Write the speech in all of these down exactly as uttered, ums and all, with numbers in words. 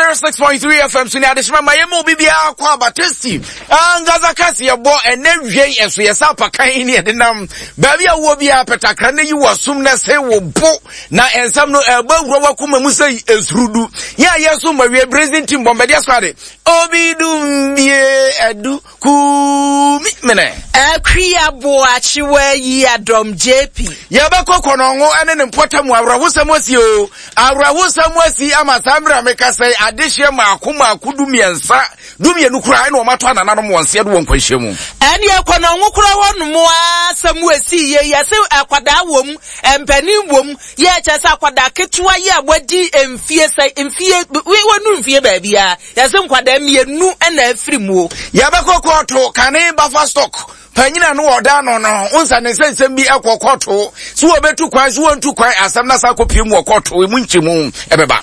one oh six point three F M so ne adehyema ma yɛma obi biara kɔ aba tasty ankasa kase yɛbɔ ɛnɛ wiei ɛso yɛ sɛ apakan ne yɛde nam baabi a wowɔ biara pɛtakra ne yi wɔ som na sɛ wo bo na ɛnsɛm no ɛbɔ awura wakoma mu sɛ ɛsurudu yɛ a yɛso ma wie brazin team bɔmbɛdeɛ so ade obi dum bie adu kumi mene. Akua Boakyewa yi adɔm J P. Yɛbɛkɔ Kɔnɔngo ne ne mpɔtam. Awerɛhosɛm asi o, awerɛhosɛm asi ama saa mmerɛ a meka sɛ adehyeɛ maako maako du mmiɛnsa du mmienu koraa ɛna ɔmatɔ anananom wɔn seɛ do wɔ nkwanhyia mu. Ɛne Kɔnɔngo kora hɔ nom a asɛm esi yie, yɛse akwadaa wɔ mu, mpanin wɔ mu, yɛ kyɛ sɛ akwadaa ketewa yi a wadi mfie sɛ mfie wɔnu mfie baabi a yɛse nkwadaa mmienu ɛna afiri mu o. Yɛbɛkɔ kɔɔto kane buffer stock panyina no ɔda no no nsa ne nsɛnsɛm bi ɛkɔ kɔɔto so wɔbɛtu kwan so wɔntu kwan, asɛm na sa akɔpie mu wɔ kɔɔto emu nkyɛmu ɛbɛba.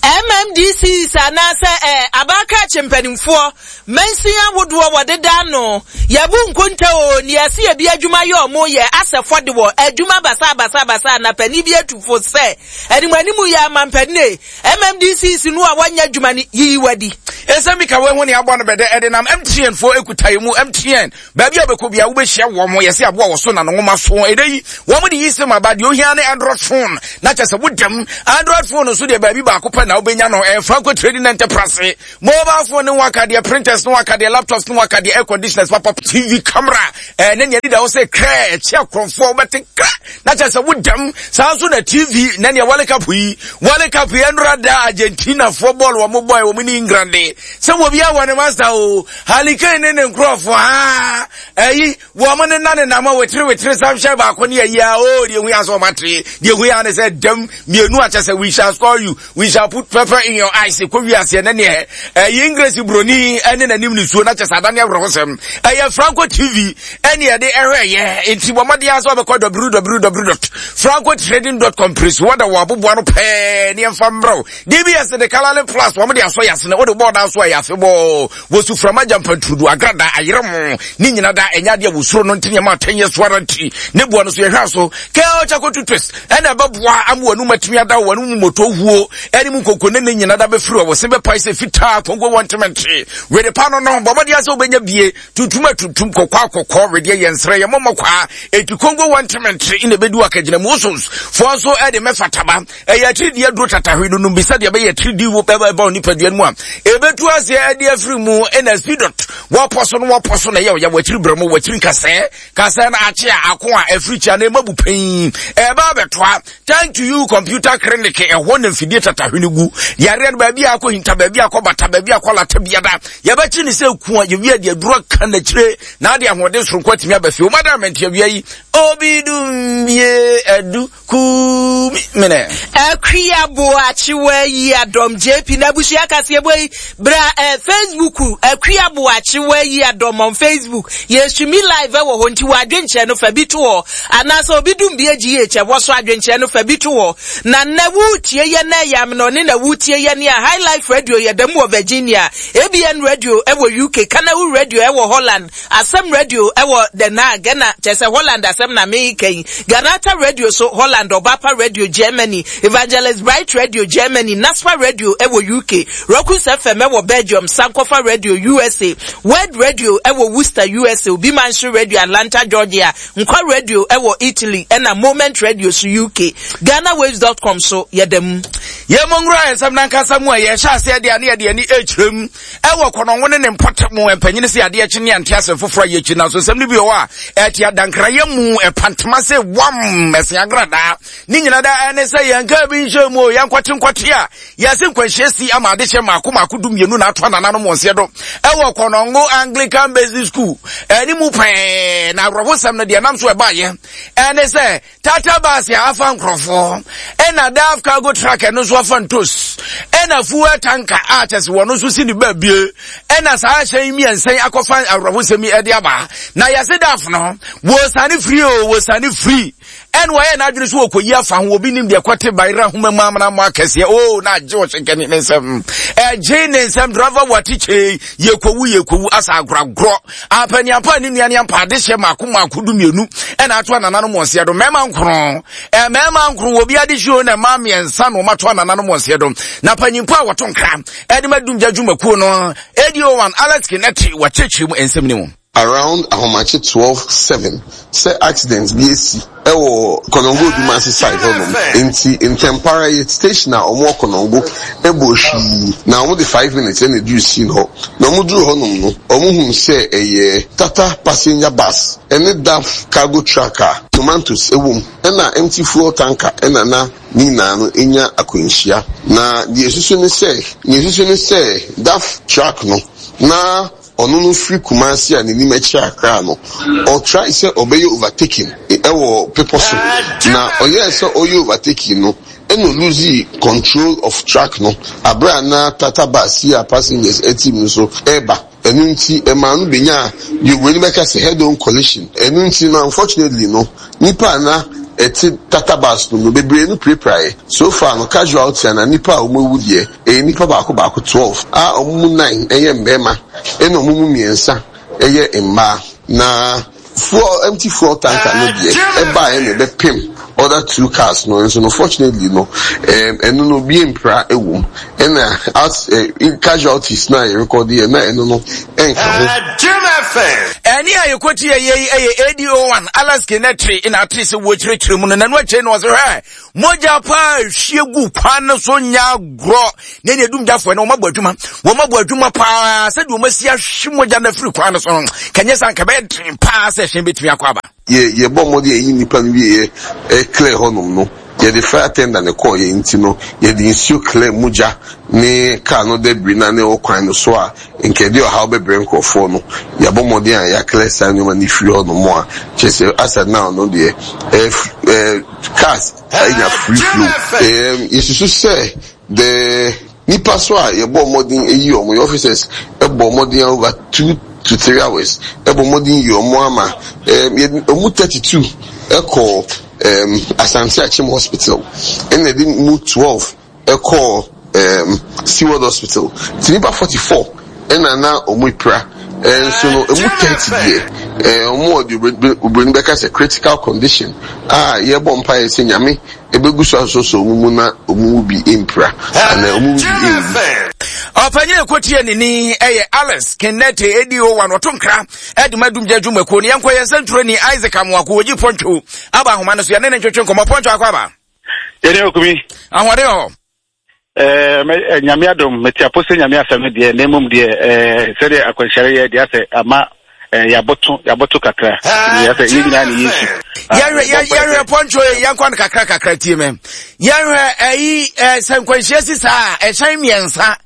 M M D Cs anaasɛ ɛ abakrakye mpanimfoɔ mansin ahodoɔ wɔdeda ano yɛbu nkonta o ne yɛsi ebi adwuma yɛ ɔmo yɛ asɛ fɔde wɔ adwuma basa basa basa na panin bi atu fo sɛ anim anim yɛ ama mpanin M M D Cs no a wɔnyɛ adwuma no yiyi wadi. Ɛsɛm bi ka wɔn ho ne abɔ no bɛdɛ ɛde nam M T N foɔ ekuta yi mu. M T N baabi a bɛkɔ bia wobɛhyia wɔn mo yɛsɛ aboa wɔ so na no nwoma so ɛdɛ yi wɔn de yi sɛm aba deɛ ohia ne Android phone na kyɛ sɛ wodam Android phone nso deɛ baabi baako pɛ na wobɛnya no ɛyɛ Franco Trading Enterprise. Mobile phone ne waka deɛ, printers ne waka deɛ, laptops ne waka deɛ, air conditioners papa, T V camera ɛɛ ne nea deda hɔ sɛ krɛ ɛkyɛ akorɔmfoɔ wobɛte kra na kyɛ sɛ wodam. Saa nso na T V na nea World Cup yi, World Cup yi ɛnora da Argentina foɔ bɔɔl wɔn bɔɔl wɔn ne England sɛ wɔ bi awɔ ne master o, Harry Kane ne ne nkurɔfoɔ aa ɛyi wɔn ne na ne nam a wetiri wetiri samhyɛ baako ne ayi a o deɛ ehu yɛ asɛ wɔn atere deɛ ehu yɛ ne sɛ dɛm mmienu akyɛ sɛ we shall score you, we shall put pepper in your eyes. Kɔ wi aseɛ ne neɛ ɛyi English broni ɛne n'anim nisuo na kyɛ sɛ adane awerɛhosɛm. Ɛyɛ Franco T V ɛne yɛde ɛhwɛ yɛ nti wɔn mmɔden asɛ wɔbɛkɔ w w w dot francotrading dot com pere so wɔda wɔ aboboa no pɛɛ ne yɛmfa mmerɛw D B S de Colorlin Plus wɔn de asɔ yasene wɔde bɔɔl da so a yɛ afebɔɔ wɔsu frama gyampanturudu agrada ayerɛ mo ne nyina da ɛnyɛ adeɛ wosuro no nti nneɛma atɛnyɛ so ara nti ne boa no so yɛhwɛ so kɛl charcoal toothpaste ɛna ɛbɛboa ama wɔn atumi ada wɔn mu moto huo ɛne mu nkoko ne ne nyina da bɛfiri wɔ wɔse bɛpae sɛ fitaa Kongo wɔ ntemente wede pa no no bɔ mmɔden sɛ wobɛnya bie tuntum atuntum kɔkɔɔ akɔkɔɔ wedeɛ yɛ nsrɛ yɛ mɔmɔ kwaa eti Kongo wɔ ntemente na ɛbɛdu akagyina mu wosos foɔ nso ɛde mɛfa taba ɛyɛ atiridii aduro tatahwe no nom bi sɛdeɛ ɛbɛyɛ atiridii wo bɛba ɛba nipadua no mu a ɛbɛtu aseɛ ɛde afiri mu. Ɛna Speedot wɔpɔ so no wɔpɔ so na ɛyɛ ɔyɛ wɔakyiri brɛ mu wɔakyiri nkasɛɛ kasɛɛ no akye a ako a ɛfiri kyia na ɛma bu pɛn ɛba abɛtoa. Thank to You Computer Clinic ɛhɔ na mfidie tatahwe no gu yareɛ no baabi a akɔ hinta, baabi a akɔ bata, baabi a akɔ lata biada yɛbɛkye ne sɛ ku a yɛwie de aduro aka n'akyire na ade ahoɔden soronko atumi aba fie. Womada mɛnte awia yi obi dum bie adu kumi mene. Akua Boakyewa yi adɔm J P na abusua kaseɛ bɔ yi bra eh, Facebook Akua Boakyewa yi adɔm on Facebook yɛsumi live ɛwɔ hɔ nti wɔ adwenkyerɛ no fa bi to hɔ anaasɛ obi dum bi agyi yɛ kyɛ wɔ so adwenkyerɛ no fa bi to hɔ na nnɛ wotie yɛ na ɛyɛ amena ɔne na wotie yɛ ne a High Life Radio yɛ dɛm wɔ Virginia, A B N Radio ɛwɔ U K, Kanawu Radio ɛwɔ Holland, Asɛm Radio ɛwɔ Den Haag ɛna kyerɛ sɛ Holland asɛm na meka yi, Ganata Radio so Holland, Ɔbapa Radio Germany, Evangelist Bright Radio Germany, Naspa Radio ɛwɔ U K, Rokus F M ɛwɔ Belgium, Sankofa Radio U S A, Word Radio ɛwɔ Worcester U S A, Obi Manso Radio Atlanta Georgia, Nkwa Radio ɛwɔ Italy ɛna Moment Radio so U K, ghanawaves dot com so yɛda mu. Yɛmmɔ nwura nsɛm nankasa mu a yɛhyɛ aseɛ deɛ ne yɛde ani ɛkyerɛ mu ɛwɔ Kɔnɔngo ne ne mpɔtam. Mpanyini sɛ adeɛ kye ne ante asɛm foforɔ a yɛkyi nanso nsɛm no bi wɔ hɔ a ɛte adankrayɛ mu ɛpantoma sɛ wam ɛse agradaa ne nyina da ɛne sɛ yɛnka bi nhyɛ mu o yɛnkɔte nkɔte a yɛse nkwanhyia si ama adehyɛ maako maako du mmienu na ato anananom wɔn seɛ do ɛwɔ Kɔnɔngo Anglican Basic School ɛne mu pɛɛ. Na awerɛhosɛm no deɛ nam so ɛbaayɛ ɛne sɛ Tata bus a afa nkurɔfoɔ ɛna Daf cargo truck ɛno nso afa ntos ɛna fuel tanker a kyɛ sɛ wɔn nso si ne baabie ɛna saa ahyɛn mmiɛnsa yi akɔfa awerɛhosɛm yi ɛde aba. Na yɛse Daf no wɔsane firi o wɔsane firi Ɛna wɔyɛ n'adwene so wɔkɔyi afa ho, obi nim deɛ kɔte bayerɛ ahoma mu amena mo akɛseɛ. O na agye ɔhyɛnkɛne ne nsɛm, ɛgye ne nsɛm. Driver wɔ atikye yɛkɔwu yɛkɔwu asa agoragorɔ apaniampa ne nua ne ampa adehyɛ mako mako du mmienu ɛna ato anananom wɔn do mmarima nkron, mmarima nkron wɔ bi adehye o, na mmaa mmiɛnsa na wɔn ato anananom wɔn do. Na panyimpo a wɔto nkra ɛde ma dumgya dwumakuo no A D O one Alex Kineti wɔkyerɛkyerɛ mu nsɛm ne mu. Around ahomakye twelve seven sɛ accident bi esi ɛwɔ Kɔnɔngo Odumase side hɔnom, nti ntɛmpara yɛ station a ɔmo wɔ Kɔnɔngo ɛbɔ hwii na ɔmo de five minutes ɛna eduru scene hɔ. Na ɔmo duru hɔnom no, ɔmo hu sɛ ɛyɛ Tata passenger bus ɛne D A F cargo truck a tomatoes ɛwɔ mu ɛna empty fuel tanker ɛna na ne nyinaa no enya akwanhyia. Na deɛ esusu ne sɛ deɛ esusu ne sɛ D A F truck no na ɔno no firi Kumasi a n'anim akyi Akra no, ɔtry sɛ ɔbɛyɛ overtaking ɛwɔ pepɔ so, na ɔyɛɛ sɛ ɔyɛ overtaking no ɛna ɔlose control of truck no abere a na Tata bus yi a passengers ɛte mu so ɛreba. Ɛno nti ɛmaa no benya deɛ oburoni bɛka sɛ head on collision. Ɛno nti no, unfortunately no, nipa a na ɛte Tata bus no no bebree no pirapiraeɛ. So far no, casualty ana nipa a wɔn awu deɛ, ɛyɛ nipa baako baako twelve a wɔn mu nine ɛyɛ mmarima ɛna wɔn mu mmiɛnsa ɛyɛ mmaa. Na fuel, empty fuel tanker no deɛ, ɛbaeɛ na ɛbɛpem other two cars no nso no, fortunately no, ɛm ɛno no obi mpira ɛwɔ mu, ɛna as ɛ casualties na yɛ record yɛ na ɛno no ɛnka ho. Ɛne a yɛkɔti yɛ yi ɛyɛ A D O one Alex Kinetri na ate sɛ wɔkyerɛkyerɛ mu no. Nanu akyerɛ no, ɔsɛ hwɛ mogya paa hwie gu kwan no so nya agorɔ na ɛne adumgyafoɔ no wɔmabɔ adwuma, wɔmabɔ adwuma paa sɛdeɛ wɔmasi ahwe mogya no afiri kwan no so no. Kɛnyɛ sa nka bɛyɛ den paa sɛ hyɛn bɛtumi akɔ aba. Yɛ yɛbɔ mmɔden yɛyi nipa no wie, yɛ clear hɔnom no, yɛde fire tender ne kɔɔ yɛ, nti no yɛde nsuo clear mogya ne car no debris na ne ɛwɔ kwan no so a nkɛde ɔhaw bɛbrɛ nkurɔfoɔ no. Yɛabɔ mmɔden a yɛaclear saa nneɛma no firi hɔnom a kyerɛ sɛ asa now no deɛ, ɛɛ ɛɛ cars anya free flow. ɛɛ yɛsusu sɛ the nipa so a yɛbɔ mmɔden eyi wɔn, yɛ officers ɛbɔ mmɔden over two to three hours ɛbɔ mmɔden yi wɔn ama ɛɛ yɛ wɔn thirty two ɛkɔ ɛɛm Asante Akyem Hospital, ɛna ɛde mu twelve ɛkɔ ɛɛm Seaworld Hospital, ti nipa forty four ɛna na wɔn epira. Ɛnso no, emu thirty deɛ, ɛɛ wɔn wɔ deɛ oburoni bɛka sɛ critical condition a yɛbɔ mpaeɛ sɛ Nyame ebegu so asosɔ wɔn mu na wɔn mu bi mpira ana wɔn mu bi nwu. Ɔpanyin ekotie ne ni ɛyɛ Alex Kenneth A D O one ɔto nkra ɛde ma dumgya dwumakuo no. Yɛnkɔ yɛn nsɛntwerɛni Isaac Amoako wɔgyi pɔntwo aba ahoma no so, yɛne ne ntwetwe nkɔmmɔ. Pɔntwo, akɔ aba. Yɛne okumi. Ahoɔden hɔ? ɛɛ Nyame adom, mete apo sɛ Nyame asɛm no deɛ, na mmom deɛ ɛɛ sɛdeɛ akwanhyɛre yɛ deɛ asɛ ama ɛɛ yɛabɔto yɛabɔto kakra yɛ sɛ yɛn nyinaa ne yɛsu. Yɛhwɛ, yɛhwɛ pɔntwo, yɛnkɔ no kakra kakra. Tie me, yɛhwɛ ɛyi ɛɛ sɛ nkwanhyia si saa, ɛhyɛn mmiɛnsa,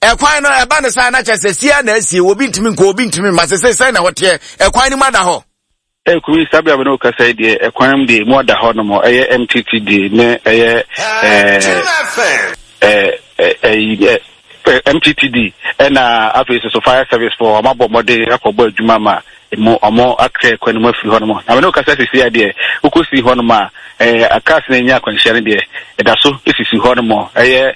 ɛkwan no ɛba ne saa na kyerɛ sɛ sia na asie, obi ntumi nkɔ, obi ntumi mma. Sɛ sɛ sɛn na wɔteɛ, ɛkwan no mu ada hɔ? Ɛkumi saa bia no kasa yi deɛ, ɛkwan mu deɛ mu ada hɔ nom. Ɛyɛ M T T D ne ɛyɛ ɛɛ ɛɛ ɛɛ M T T D, ɛna afei soso fire service fo ɔmo abɔ mmɔden akɔbɔ adwuma ma emu ɔmo akɛ kwan mu afiri hɔ nom. Na mene kasa sisi adeɛ wokɔsi hɔ nom a, ɛɛ cars na enya akwanhyia no deɛ, ɛda so esisi hɔ nom. Ɛyɛ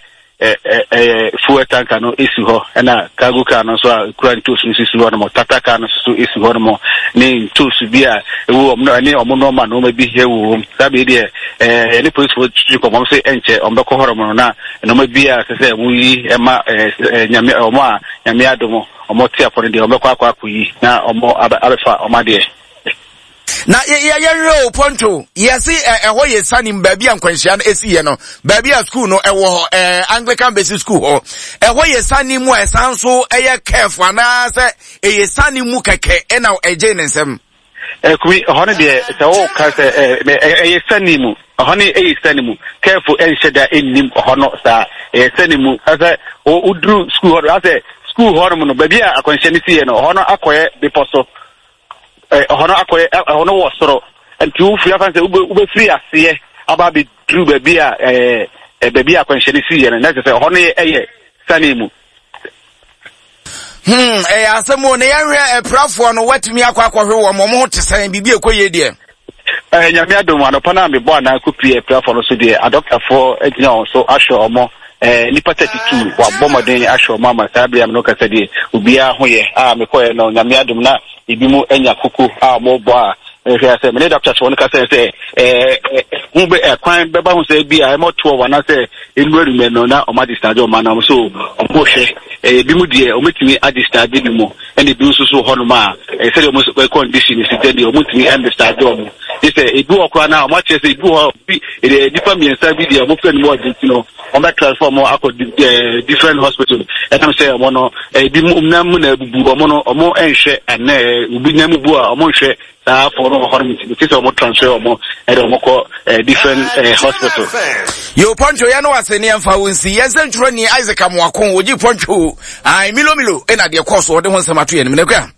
ɛyɛ fuel tanker no esi hɔ, ɛna cargo car no nso a ekura ntoosu no sisi hɔ nom, Tata car no nso so esi hɔ nom ne ntoosu bi a ewu wɔn no ɛne wɔn nneɛma nneɛma bi ɛwɔ wɔm. Saa bee deɛ, ɛɛ ɛne polisifoɔ twitwi kɔmɔ sɛ ɛnkyɛ wɔn bɛkɔ hɔ nom na nneɛma bi a sɛ sɛ wɔn yi ɛma ɛɛ ɛɛ Nyame wɔn a Nyame adom wɔn te apɔ no deɛ, wɔn bɛkɔ akɔ akɔ yi na wɔn abɛ abɛfa wɔn adeɛ. Na yɛhwɛ o, pɔntwo, yɛse ɛhɔ yɛ sanim baabi a nkwanhyia no ɛsiiɛ no, baabi a school no ɛwɔ hɔ, ɛɛ Anglican Basic School hɔ, ɛhɔ yɛ sane mu a ɛsan so ɛyɛ careful anaasɛ ɛyɛ sane mu kɛkɛ ɛna ɛgye ne nsɛm? Ɛkumi, ɛhɔ no deɛ, sɛ wɔka sɛ ɛyɛ sane mu, ɛhɔ no ɛyɛ sane mu, careful ɛnhyɛ da ɛnnim ɛhɔ no saa. Ɛyɛ sane mu ɛsɛ woduru school hɔ no, asɛ school hɔ nom no, baabi a akwanhyia no siiɛ no, ɛhɔ no akɔyɛ bepɔ so, ɛhɔ no akɔyɛ, ɛhɔ no wɔ soro, nti wofiri afa sɛ wobɛfiri aseɛ aba abɛduru baabi a ɛɛ baabi a akwanhyia no siiɛ no, na kyerɛ sɛ ɛhɔ no yɛ sane mu. hmm ɛyɛ asɛm o. Na yɛhwɛ apirafoɔ no, watumi akɔ akɔhwɛ wɔn, wɔn ho te sɛn? Biribi ɛkɔ yie deɛ? Eh, Nyame adom, anɔpa no a mebɔ anaa kɔpie apirafoɔ no so deɛ, adɔktafoɔ agyina wɔn so ahwɛ ɔmo. Eh, nnipa thirty-two wabɔ mmɔden ahwɛ ɔmo ama saa bere a me no kasa deɛ, obiara ho yɛ. A mekɔɛ no, Nyame adom na ebi mu anya koko a ɔmo bɔ a mehwɛ sɛ mene doctors no kasa sɛ eh, ho bɛ ɛkwan bɛba ho sɛ bi a ɛmɔ twelve anaasɛ nnura numɛ no na ɔmo adischarge ɔmo anam so ɔmo hwɛ. Ebi mu deɛ ɔmo tumi adischarge bi mu, ɛna ebi nso so hɔnom a sɛdeɛ ɔmo nso condition si tɛ deɛ, ɔmo tumi ɛndischarge ɔmo gye sɛ ebi wɔ koraa na ɔmo akyerɛ sɛ ebi wɔ hɔ bi nipa mmiɛnsa bi deɛ, ɔmo fɛ no mu ɔdi ti no, ɔmo bɛ transfer ɔmo akɔ different hospital. Ɛnam sɛ ɔmo no ebi mu nam mu na ebubu ɔmo no, ɔmo ɛnhwɛ ɛnɛ obi nam bu a ɔmo nhwɛ saa afɔ no wɔ hɔ nom, nti sɛ ɔmo transfer ɔmo ɛde ɔmo kɔ different hospital. Yo, Pɔntwo, yɛn no wase ne yɛmfa wo nsi yɛn sɛ ntwerɛ ni Isaac Amoako wɔgye Pɔntwo ai Milo Milo ɛna deɛ kɔɔ so ɔde ho nsɛm ato yɛn nim nakua.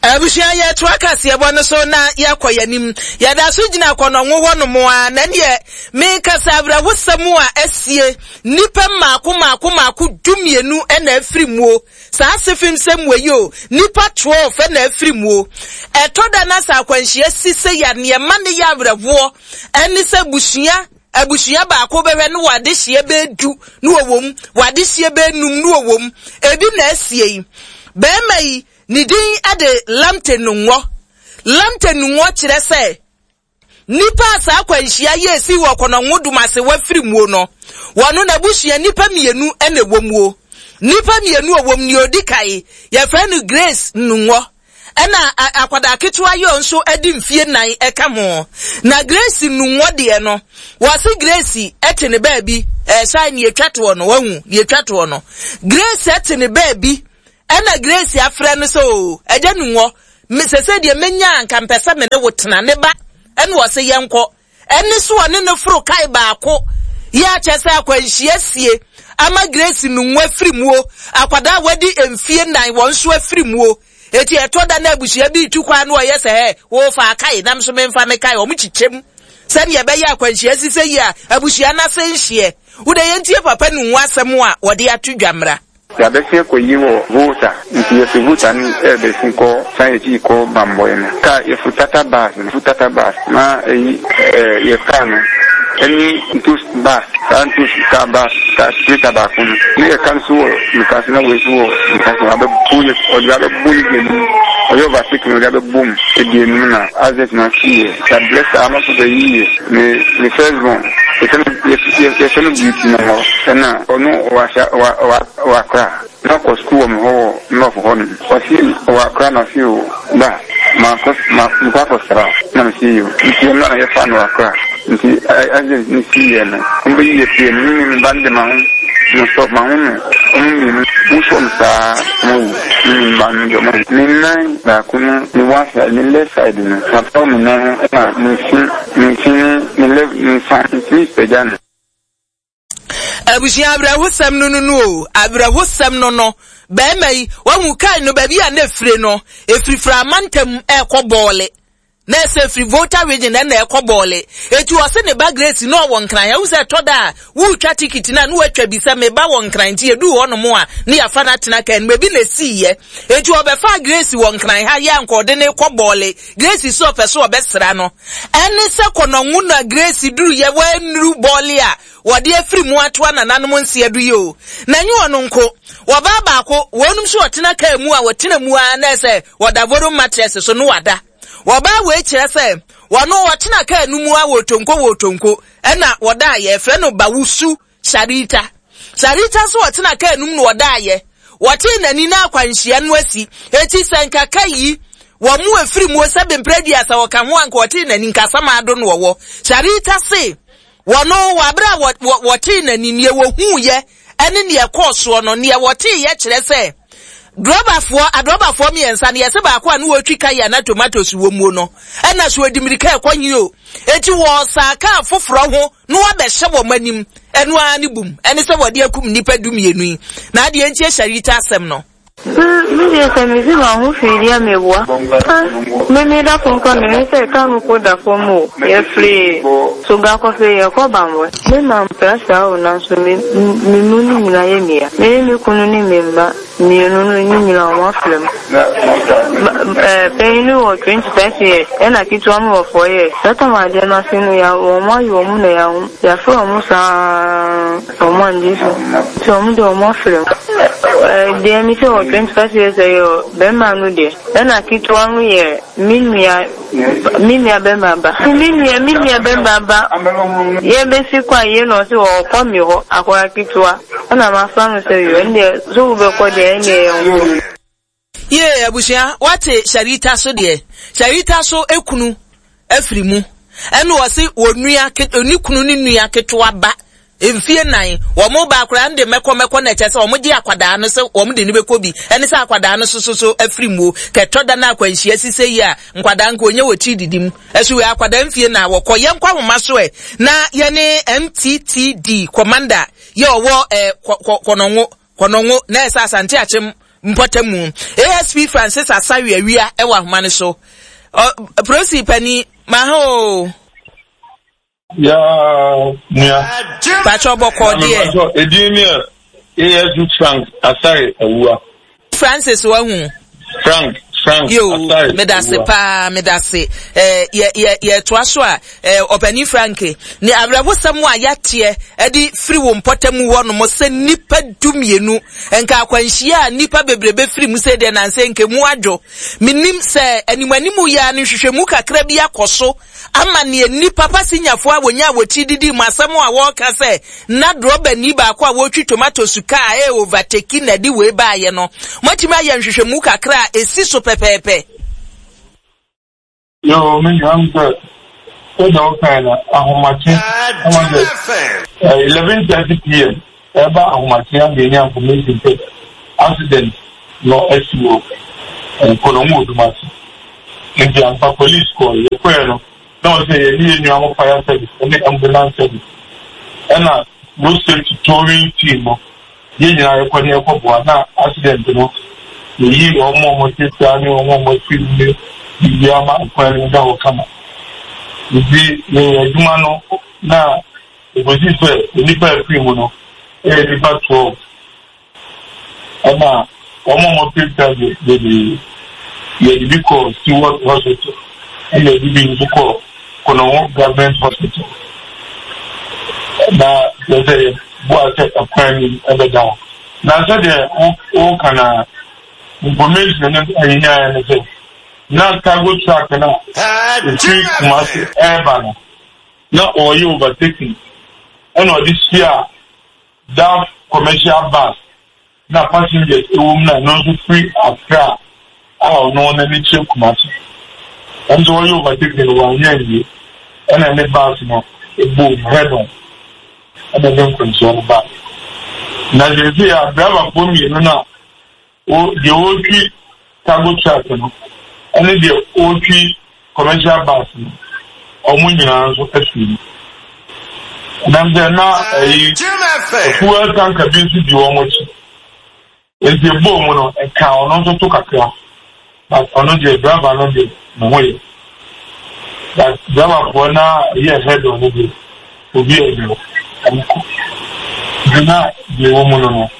Abusua, yɛtoa kaseɛbɔ no so na yɛkɔ yɛnim. Yɛda so gyina Kɔnɔngo hɔ nom a na neɛ mekasa, awerɛhosɛm a asie, nnipa mmaako mmaako mmaako dumienu ɛna afiri muo saa asefim sɛm wɔ yi o. Nnipa twelve ɛna afiri muo. Ɛtɔ da na sɛ akwanhyia si sɛ yɛ nneɛma ne yɛ awerɛhoɔ ɛne sɛ busua abusua baako bɛhwɛ no, wɔ adehyeɛ bɛɛdu ne wɔwɔ mu, wɔ adehyeɛ bɛɛnum ne wɔwɔ mu. Ebi na asie yi. Bɛrima yi ne din de Lamte Nungɔ. Lamte Nungɔ kyerɛ sɛ nipa a saa akwanhyia yɛ esi wɔ Kɔnɔngo Dumase wafiri muo no, wɔno n'abusua nipa mmienu ɛna ɛwɔ muo. Nipa mmienu a wɔm, nea odi kae yɛfrɛ no Grace Nungɔ, ɛna akwadaa ketewa yi nso de mfie nan ɛka ho. Na Grace Nungɔ deɛ no, wɔsi Grace ɛte ne baabi ɛsan nea etwa toɔ no, wahu nea etwa toɔ no, Grace ɛte ne baabi, ɛna Grace afrɛ no sɛ, "O ɛgya Nungɔ, sɛsɛ deɛ menya anka mpɛ sɛ me ne wo tena ne ba." Ɛna wɔsi yɛnkɔ. Ɛne so ɔne ne foro kae baako yɛ akyɛ sɛ akwanhyia sie ama Grace Nungɔ afiri muo, akwadaa a wadi mfie nan wɔn nso afiri muo. Eti ɛtɔ da na abusua bi tu kwan no, ɔyɛ sɛ ɛ wɔfa akae nam so memfa me kae, wɔn kyekyɛm sɛnea ɛbɛyɛ akwanhyia sisɛ yi a abusua n'ase nhyeɛ. Wode yɛntie papa Nungɔ asɛm a wɔde ato dwa mmra. Yɛabɛsi akɔyi wɔ Volta, nti yɛfi Volta no ɛbɛsi kɔ san yɛkyi kɔ Bambɔe no kaa yɛfu Tata bus no, fu Tata bus na ɛyi ɛɛ yɛ kaa no ɛne ntos bus, saa ntos kaa bus kaa sprinter baako no ne yɛ ka nso wɔ Nkase na wei nso wɔ Nkase abɛbo yɛ, ɔde abɛbo yɛ di anim, ɔyɛ overtake no, ɔde abɛbo mu edi anim na accident na si yɛ. Yɛabrɛ saa ama so bɛyi yɛ me me first born, yɛfɛ no yɛfɛ no Beauty na hɔ, ɛna ɔno ɔwɔ ahyɛ ɔwɔ ɔwɔ ɔwɔ Akra na ɔkɔ sukuu wɔ me hɔ wɔ North hɔ nom. Ɔsi ɔwɔ Akra na ɔsi o ba ma kɔ ma nkɔ akɔsra na me si yo, nti ɛno na yɛfa no wɔ Akra. Nti accident ne si yɛ no, ɔmo bɛyi yɛ pie no, me me ba no de ma ho no stop ma ho no, ɔmo mmienu mo fam saa ɔmo wu. Me me ba no de ɔmo awu. Me nan baako no, me one side, me left side no mapaw me nan ho, ɛna me fi me fi ne me left me nsa ntumi pagya no. Abusua, awerɛhosɛm no no no o, awerɛhosɛm no no bɛrima yi wahu kae no baabi a na efire no efirifiri amantam ɛrekɔ Bɔɔle na ɛsɛ efiri Volta Region ɛna ɛkɔ Bɔɔle. Etu ɔse ne ba Grace na ɔwɔ Nkran. Ɛhu sɛ ɛtɔ da a wotwa tikiti na ne watwa bi sɛ meba wɔ Nkran, nti edu hɔ nom a ne yafa no atena kaa no mu. Ebi na esi yɛ etu ɔbɛfa Grace wɔ Nkran ha yɛ anka ɔde ne kɔ Bɔɔle. Grace so ɔpɛ so ɔbɛsra no, ɛne sɛ Kɔnɔngo na Grace duru yɛ wɔanuru Bɔɔle a wɔde afiri mu atoa nananom nseɛ do yi o. Na nye ɔno nko, wɔbaa baako wɔnom nso ɔtena kaa mu a wɔtena mu a na ɛsɛ wɔda foam mattress so no wada. Wɔbaa wei kyerɛ sɛ wɔno wɔtena kaa no mu a wɔtonko wɔtonko ɛna wɔda a yɛfrɛ no Bawusu Sarita. Sarita so wɔtena kaa no mu na wɔda ayɛ wɔtee n'ani na akwanhyia no asi. Eti sɛ nkaka yi wɔn mu efiri mu sɛ bempere aduasa wɔka ho anka wɔtee n'ani nkasama ado no wɔwɔ. Sarita se wɔno wɔabere a wɔtee n'ani neɛ wɔhuuyɛ ɛne neɛ ɛkɔɔ soɔ no, neɛ wɔtee yɛ kyerɛ sɛ drɔbafoɔ adrɔbafoɔ mmiɛnsa no, yɛsɛ baako a ne wɔtwi kaya na tomatoes wɔ muo no, ɛna so ɔdi mmirika ɛkɔ nyi o, eti wɔsaa kaa foforɔ ho na wɔabɛhyɛ wɔn anim, ɛno ara ne bum ɛne sɛ wɔde akum nnipa du mmienu yi. Na adeɛ nti Sarita asɛm no. Me deɛ sɛ mesi ma ho hwee di a meboa. Me me da fam kora mehu sɛ kaa no po da fam o. Yɛfiri Soga kɔfɛ yɛkɔ Bambɔ. Me ma mpra saa o, nanso me me mu no nyinaa yɛ mia. Me ne me kunu ne me mma mmienu no ne nyinaa wɔn afra mu. Panyin no wɔ twenty five years, ɛna ketewa no wɔ four years. Sata ma adeɛ no ase no ya wɔn ayɛ wɔn na ya yɛafrɛ wɔn saa, wɔn angye so. Nti wɔn de wɔn afra mu. Deɛ mi sɛ wɔ twenty five years ɛyɛ bɛrima no deɛ, ɛna ketewa no yɛ me nua me nua bɛrima ba. Me nua me nua bɛrima ba yɛbɛsi kɔ a yie na ɔsɛ ɔkɔ mi hɔ akɔra ketewa, ɛna ma fa no sɛ yɛ ɛndeɛ so wobɛkɔ deɛ, ɛndeɛ yɛn kɔ. Yee, abusua, wate Sharita so deɛ, Sharita so ekunu afiri mu, ɛna ɔse wɔnua ne kunu ne nua ketewa ba mfie nan, wɔn ba akwadaa no de mɛkɔ mɛkɔ na ɛkyɛ sɛ wɔn gye akwadaa no sɛ wɔn de ne bɛkɔ bi, ɛne sɛ akwadaa no soso so afiri mu kɛtɔ da na akwanhyia sise yi a nkwadaa nko onye wɔ ti didi mu ɛso wɔ akwadaa mfie na wɔkɔ. Yɛn nkɔ ahoma so ɛ na yɛne M T T D commander yɛ ɔwɔ ɛ kɔ kɔnɔngo kɔnɔngo na ɛsɛ Asante Akyem mpɔtamu, A S P Francis Asare Awia, ɛwɔ ahoma no so. Ɔ prosi pani maha o. Ya nua. Patro, bɔkɔ deɛ? Edin mi yɛ A S P Frank Asare Awua. Francis wahu. Frank Frank Yo, Asare medase Awua. Paa, medase. ɛɛ yɛ yɛ yɛtoa so a, ɛɛ ɔpanin Frank, ne awerɛhosɛm a yɛateɛ ɛde firi wo mpɔtamu hɔ nom sɛ nipa du mmienu nka akwanhyia a nipa bebrebe firi mu sɛ deɛ nansɛ nke mu adwo. Menim sɛ animanimu yɛ a no nhwehwɛmu kakra bi akɔ so ama neɛ nipa pasinyafoɔ a wɔnya a wɔkyi didi mu asɛm a wɔreka sɛ na drɔbani baako a wɔretwi tomatoes kaa ɛyɛ overtake na ɛde wei baayɛ no, moatumi ayɛ nhwehwɛmu kakra a ɛsi so pɛpɛɛpɛ? Yo, me nua, m sɛ sɛdeɛ wokae no, ahomakye ɛma sɛ eleven thirty P M ɛba ahomakye a yɛnya information sɛ accident no asi wɔ Nkɔnɔmu Odumase. Nti ampa police kɔɔ, yɛkɔɛ no na wɔ sɛ yɛne yɛn nua mo fire service ne ambulance service ɛna road safety towing team no, yɛn nyinaa yɛkɔ ne yɛkɔboa na accident no yɛyi wɔn a wɔte saa ne wɔn a wɔte mu ne biribi ama kwan no da hɔ kama. Nti yɛyɛ adwuma no na ekosi sɛ nnipa afiri mu no ɛyɛ nnipa twelve, ɛna wɔn a wɔpirapira de yɛde yɛde bi kɔ Stewart Hospital, ɛna yɛde bi nso kɔ Kɔnɔho Government Hospital, na kyerɛ sɛ yɛboa sɛ ɛkwan no ɛbɛda hɔ. Na sɛdeɛ wɔka na information no ɛyɛnyaeɛ no sɛ na cargo truck no a ɛfiri Kumase ɛreba no na ɔreyɛ overtaking, ɛna ɔde hyia Daf commercial bus na passengers ɛwɔ mu, na ɛno nso firi Accra a ɔno n'ani kyerɛ Kumase. Ɛnso ɔyɛ overtaking no wanyɛ anwie, ɛna ne bus no ɛbom head on, ɛna ɛde nkwanhyia no ba. Na sɛsɛ a driverfoɔ mmienu no a deɛ ɔretwi cargo truck no ɛne deɛ ɔretwi commercial bus no, wɔn nyinaa nso afiri mu. Nam sɛ na ɛyi fuel tanker bi nso di wɔn akyi, nti ebɔɔ mu no ɛka ɔno nso to kakra, but ɔno deɛ, driver no deɛ, ne ho yɛ, but driverfoɔ na ɛyɛ head on no deɛ, obi a ɛnyɛ ɔmo kɔ nti na deɛ ɛwɔ mu no no.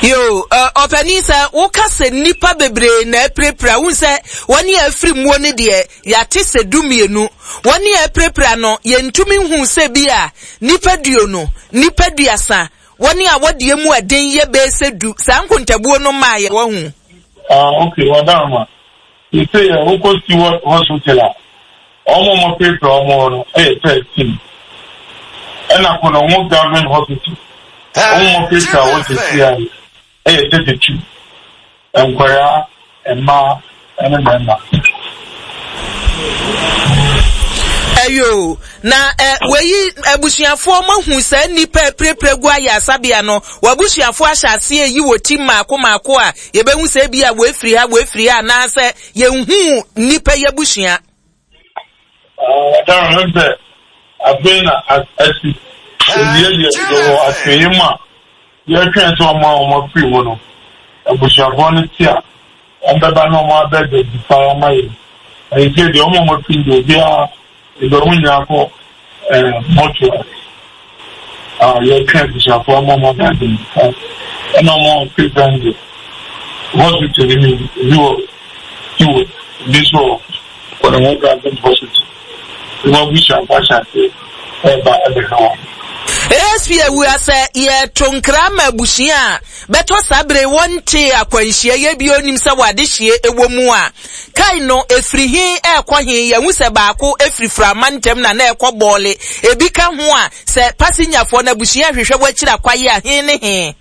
Yo, ɔpanin, sɛ woka sɛ nnipa bebree na apirapira, wohu sɛ wɔne a afiri muo no deɛ yɛate sɛ du mmienu, wɔne a apirapira no yɛntumi nhu sɛ bi a nnipa duonu, nnipa duasa, wɔne a wɔdeɛ mu ɛden yɛ bɛyɛ sɛ du, saa nkontabuo no maa yɛ wɔhu. Ah, okay, wadama sese yɛ wokɔ Stewart Hospital a, wɔn a wɔapirapira wɔn hɔ no yɛ thirteen, ɛna Kɔnɔngo Government Hospital, wɔn a wɔapirapira wɔ sese a ɛyɛ thirty two, nkwadaa, mmaa ɛne mmarima. Ɛyo, na ɛ wɔyi abusuafoɔ mo ahu saa nnipa apirapira gu ayɛ asabea no, wɔabusuafoɔ ahyɛ aseɛ yi wɔ ti mmaako mmaako a yɛbɛhu sɛ ebi a wɔafiri ha, wɔafiri ha, anaasɛ yɛnhu nnipa yi abusua? Ɔdan no sɛ afei na asi ewie deɛ, yɛwɔ atwɛnyɛ mu a yɛretwɛn sɛ wɔn a wɔn afiri mu no Abusuafoɔ no te a, wɔbɛba na wɔn abɛ identify ama yɛn. Ɛyɛ sɛ deɛ wɔn a wɔafiri deɛ obiara ɛdɛ wɔn nyinaa kɔ ɛɛ mortuary a yɛtwe abusuafoɔ ama wɔn abɛ identify ɛna wɔn a wɔfiri fɛn deɛ hospital no mu ebi wɔ Stewart ebi nso wɔ Kɔnɔmɔ Government Hospital wɔn abusuafoɔ ahyɛ ase ɛreba ɛbɛhwɛ wɔn. A S P Awua, sɛ yɛto nkra ma abusua a bɛtɔ saa bere wɔnte akwanhyia yɛ bi onim sɛ wɔade hyie ɛwɔ mu a, kai no efiri he ɛɛkɔ he? Yɛhu sɛ baako efiri Frama ntɛm na na ɛkɔ Bɔɔle. Ebi ka ho a, sɛ pasenyafoɔ no abusua hwehwɛ wɔakyiri akwaye a, he ne he?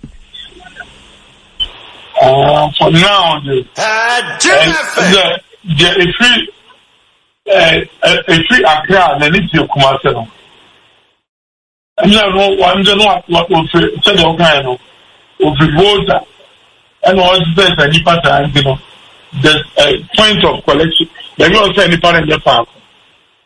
Uh, for now, the the the efiri ɛɛ efiri Accra na ne tie Kumase no, ɛnna no wɔn de no ofiri sɛdeɛ ɔkan no, ofiri Volta ɛna ɔsɛ sɛ nipa saa nti no, the uh, point of collection baabi a ɔsɛ nipa no nyɛ faako.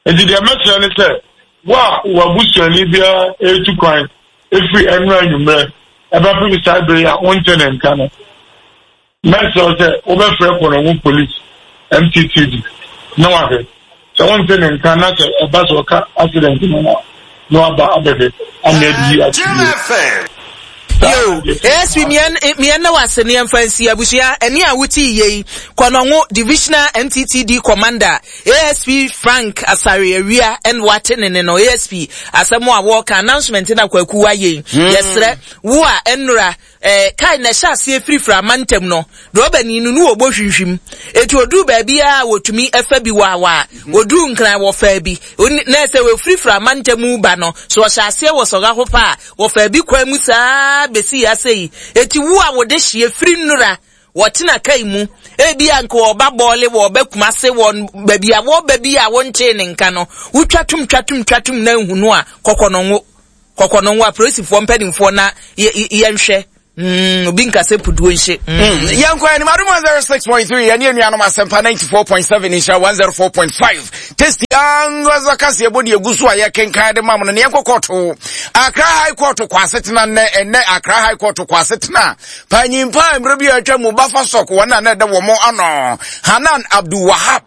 Nti deɛ mɛkyerɛ ne sɛ, wo a w'abusuani biara etu kwan efiri ɛnura anwummerɛ ɛbɛpem saa bere a wonte ne nka no, mɛsrɛ sɛ wobɛfrɛ Kɔnɔngo Police M T T D na wahwɛ sɛ wonte ne nka na sɛ ɛba sɛ ɔka accident no na na waba abɛhwɛ ama adi yi ato yie. Yo, A S P, miɛn na wase ne yɛmfa nsi. Abusua, ɛne a wote yie yi, Kɔnɔngo Divisional M T T D Commander A S P Frank Asare Awia ɛna wate ne ne no. A S P, asɛm a wɔka, announcement na Kwaku wayɛ yi, yɛsrɛ wo a ɛnora ɛɛ kai na ɛhyɛ aseɛ firifiri amantam no, drɔbani no no wɔbɔ hwimhwim eti oduru baabi a wɔtumi ɛfa bi waawaa, oduru Nkran wɔfa bi. Oni- na ɛsɛ wɔfirifiri amantam ba no so, ɔhyɛ aseɛ wɔ sɔga hɔ pa a, wɔfa bi kwan mu saa besi ase yi. Eti wo a wɔde hyia firi nnura wɔtena kai mu, ebi a nka wɔba Bɔɔle, wɔba Kumase, wɔ baabi a wɔba bi a wɔntee ne nka no, wotwa tum twa tum twa tum na nhunu a, kɔkɔ no ngo kɔkɔ no ngo apolisifoɔ mpanimfoɔ na yɛ- yɛ- yɛnhwɛ mm, obi nkasɛ puduo nhye mm. Yɛnkɔ anim. Adom one oh six point three, yɛne anuanom Asɛmpa ninety-four point seven, Nhyira one oh four point five, Tasty Angaza kaseɛ bɔ de egu so a yɛkenkan de ma mo no. Ne yɛnkɔ kɔɔto, Accra High Court kɔ asetena nnɛ. Ɛnnɛ Accra High Court kɔ asetena. Panyimpa a mmerɛ bi a atwa mu bafa sɔk wɔn a na ɛda wɔn ano, Hanan Abdul Wahab,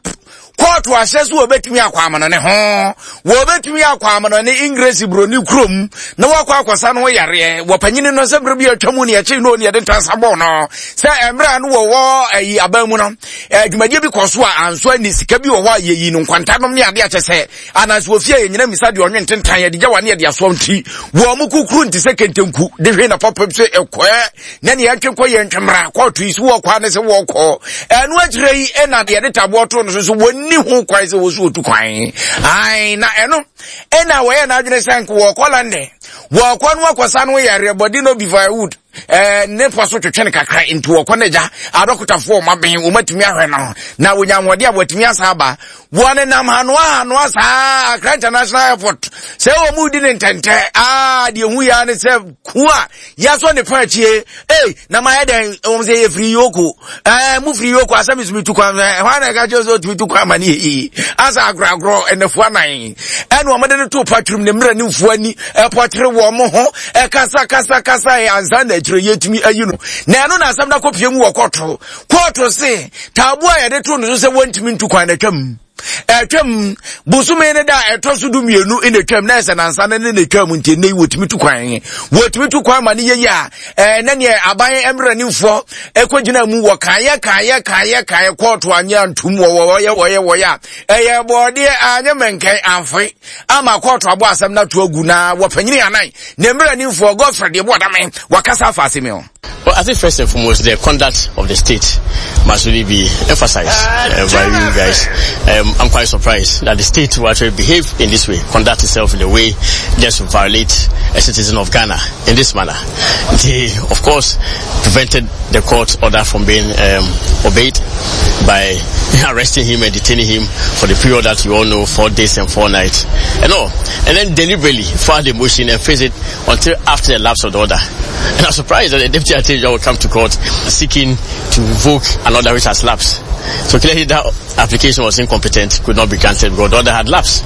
kɔɔto ahyɛ so wɔbɛtumi akɔ amono ne ho, wɔbɛtumi akɔ amono ne Ingresi buroni kurom na wɔakɔ akɔsa no ho yareɛ. Wɔpanyini no sɛ mmerɛ bi atwa mu ne ɛkyei no ne yɛde ntansa bɔɔ no sɛ mmerɛ a no wɔwɔ ayi aban mu no, dwumadie bi kɔ so a anso ani sika bi wɔ hɔ a yɛyi no nkwantanom ne adeɛ akyɛ sɛ anaasɛ wɔfie a yɛnyina misa deɛ ɔnwe ntentan yɛde gya wa ne yɛde asoɔ nti wɔn mo kukuru nti sɛ kentenku de hwee na pɔpem sɛ ɛkɔɛ na ne yɛntwe kɔ yɛntwe mmara. Kɔɔto yi so wɔkɔ ne sɛ wɔkɔ ɛno akyerɛ yi ɛna yɛde taboɔ to no so so wɔnni ho kwan sɛ wɔso wɔtu kwan ai na ɛno ɛna wɔyɛ n'adwene sɛ nka wɔkɔ London, wɔkɔ no akɔsa no yareɛ bɔde no bi firewood ɛɛ ne pɔ so twetwe no kakra nti wɔkɔ no agya adɔkotafoɔ ɔma bɛn wɔmatumi ahwɛ no na wɔnya ahoɔden a wɔatumi asa aba. Wɔne nam hanoa hanoa saa Accra International Airport sɛ wɔn mu di ne ntɛntɛ aa deɛ hu ya ne sɛ ku a yasɔ ne fa akyie ee na ma yɛ dɛn wɔn sɛ yɛ firi yoko ɛɛ mu firi yoko asɛm sumi tu kwan ɛhɔ ana ɛka kyerɛ sɛ ɔtumi tu kwan ma ne yɛ yie asa agorɔ agorɔ ɛnɛfoɔ anan ɛna wɔn de ne to patrum ne mmerɛ ne nfuo ani ɛpɔkyere wɔn ho ɛkasa kasa kasa yɛ ansa na akyire yɛtumi ayi no. Na ɛno na asɛm no akɔpie mu wɔ kɔɔto. Kɔɔto se taaboa a yɛde to no so sɛ wɔntumi ntu kwan na atwam ɛtwam bosome ne da ɛtɔ so du mmienu na atwam na ɛsɛ nansa ne ne na atwam nti ɛnɛ yi wɔtumi tu kwan, wɔtumi tu kwan ma ne yɛyi a ɛɛ ne neɛ aban mmeranimfoɔ ɛkɔgyina mu wɔ kaayɛ kaayɛ kaayɛ kaayɛ kɔɔto anyɛ antum wɔ wɔyɛ wɔyɛ wɔyɛ a ɛyɛ bɔɔdeɛ anyɛ mɛnkɛn amfe ama kɔɔto abɔ asɛm no ato agu na wɔpanyini anan ne mmeranimfoɔ Godfrey deɛ boɔdame wakasa afa asɛm yi ho. Well, I think first and foremost, the conduct of the state must really be emphasized uh, by you guys. Um, I'm quite surprised that the state will actually behave in this way, conduct itself in a way just to violate a citizen of Ghana in this manner. They, of course, prevented the court order from being um, obeyed by arresting him and detaining him for the period that you all know, four days and four nights, and all. And then deliberately filed a motion and face it until after the lapse of the order. And I'm surprised that the deputy attorney general will come to court seeking to revoke an order which has lapsed. So clearly that application was incompetent, could not be granted because the order had lapsed.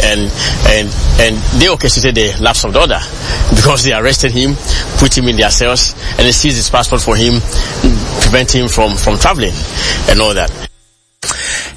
And, and, and they orchestrated the lapse of the order because they arrested him, put him in their cells, and they seize his passport for him, prevent him from, from traveling and all that.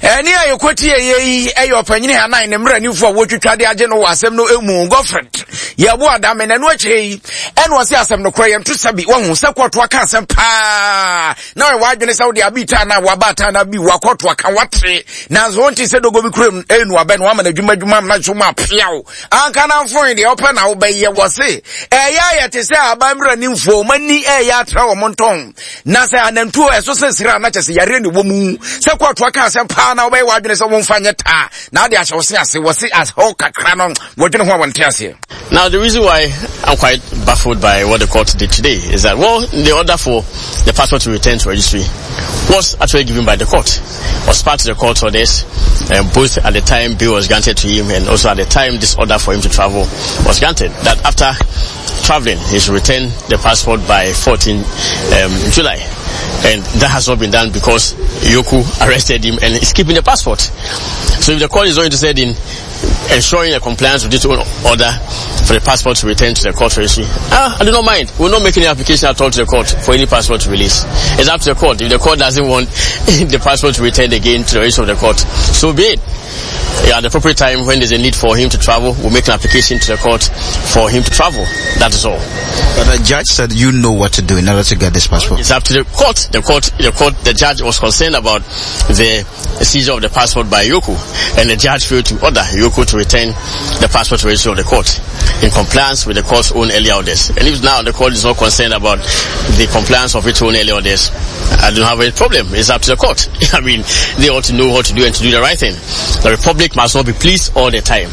Ɛne a yɛkɔtie yɛ yi ɛyɛ ɔpanyini hanan ne mmeranimfoɔ a wɔtwitwa de agye no wɔ asɛm no mu Godfred Yeboah Dame. Na ɛno akyire yi ɛna ɔse asɛm no korɔ yɛnto sa bi. Wahu sɛ kɔɔto aka asɛm paa na ɔyɛ w'adwene sɛ wode abi taa na waba taa na bi wakɔɔto aka wate, nanso wonte sɛ dogo bi kurom ɛnu abɛ no wama no adwuma adwuma na so ma apeaw anka na mfoe deɛ ɔpɛ na wobɛyɛ. Wɔ se ɛyɛ ayɛ te sɛ aba mmeranimfoɔ ɔmani ɛyɛ atra wɔ mo ntɔn na sɛ anantuo ɛso sensere a na kyɛ sɛ yareɛ ne wɔ mu sɛ kɔɔto aka asɛm paa na wobɛyɛ w'adwene sɛ womfa nyɛ taa na ade ahyɛ wo se ase wɔ se ahɔ kakra no wɔdwene ho a wɔnte aseɛ. Now, the reason why I'm quite baffled by what the court did today is that, well, the order for the passport to return to registry was actually given by the court. Was part of the court orders, um, both at the time bail was granted to him and also at the time this order for him to travel was granted. That after traveling, he should return the passport by fourteen um, July. And that has not been done because E O C O arrested him and is keeping the passport. So if the court is not interested in ensuring a compliance with this own order for the passport to return to the court registry, ah, I do not mind. We will not make any application at all to the court for any passport to release. It's up to the court. If the court doesn't want the passport to return again to the registry of the court, so be it. Yeah, at the appropriate time when there's a need for him to travel, we'll make an application to the court for him to travel. That is all. But the judge said you know what to do in order to get this passport. It's up to the court. The court, the court, the judge was concerned about the seizure of the passport by E O C O, and the judge failed to order E O C O to return the passport to the registry of the court in compliance with the court's own earlier orders. And if now the court is not concerned about the compliance of its own earlier orders, I don't have any problem. It's up to the court. I mean, they ought to know what to do and to do the right thing. The republic must not be pleased all the time.